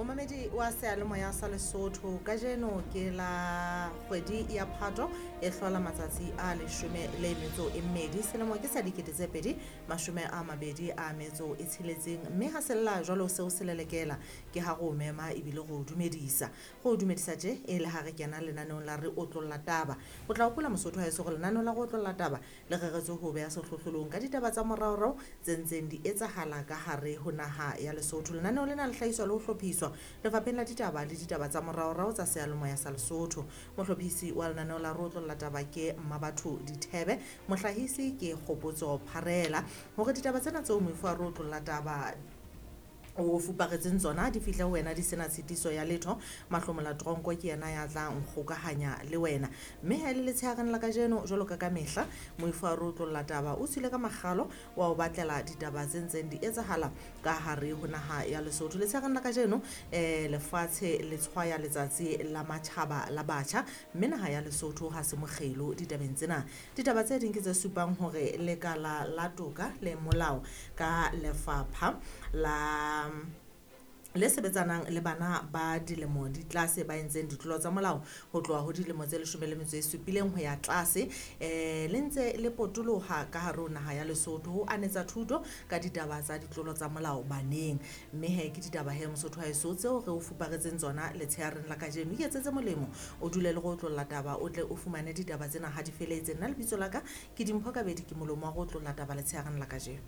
Momamedi wa seyalemoya sa Lesotho, kajeno ke la kgwedi ya Phato e hlola matsatsi a 12 selemo ke sa 2026, mme ha sella jwalo seo se lelekela ke ha go mema ebile go dumedisa. Go dumedisa tje e le ha re kena lenaneong la Re Otlolla Taba. O tla hopola Mosotho ha eso gore lenaneo la Go Otlolla Taba le reretswe ho beha sehlohlolong ka ditaba tsa moraorao tse ntseng di etsahala ka hare ho naha ya Lesotho. Lenaneo lena le hlahiswa le ho hlophiswa Lefapheng la Ditaba le Ditaba tsa Moraorao tsa Seyalemoya sa Lesotho. Mohlophisi wa lenaneo la Re Otlolla Taba ke Mmabatho Dithebe, mohlahisi ke Kgopotso Pharela. Hore ditaba tsena tseo moifo wa Re Otlolla Taba o fuparetseng tsona di fihle ho wena di sena tshitiso ya letho, Mahlomola Tronko ke yena ya tla nkgokahanya le wena. Mme ha e le letshehareng la kajeno, jwalo ka kamehla, moifo wa Re Otlolla Taba o tswile ka makgalo wa o batlela ditaba tse ntseng di etsahala ka hare ho naha ya Lesotho. Letshehareng la kajeno, lefatshe le tshwaya letsatsi la matjhaba la batjha, mme naha ya Lesotho ha se mokgelo ditabeng tsena. Ditaba tse ding ke tse supang hore lekala la toka le molao ka lefapha la le sebetsanang le bana ba dilemo di tlase ba entseng ditlolo tsa molao ho tloha ho dilemo tse 17 ho ya tlase, le ntse le potoloha ka hare ho naha ya Lesotho ho anetsa thuto ka ditaba tsa ditlolo tsa molao baneng. Mme he ke ditaba he Mosotho wa heso tseo re o fuparetseng tsona letshehareng la kajeno. Iketsetse molemo, o dule le Go Otlolla Taba, o tle o fumane ditaba tsena ha di feletse. Nna lebitso la ka ke Dimpho Kabedi, ke molomo wa Go Otlolla Taba letshehareng la kajeno.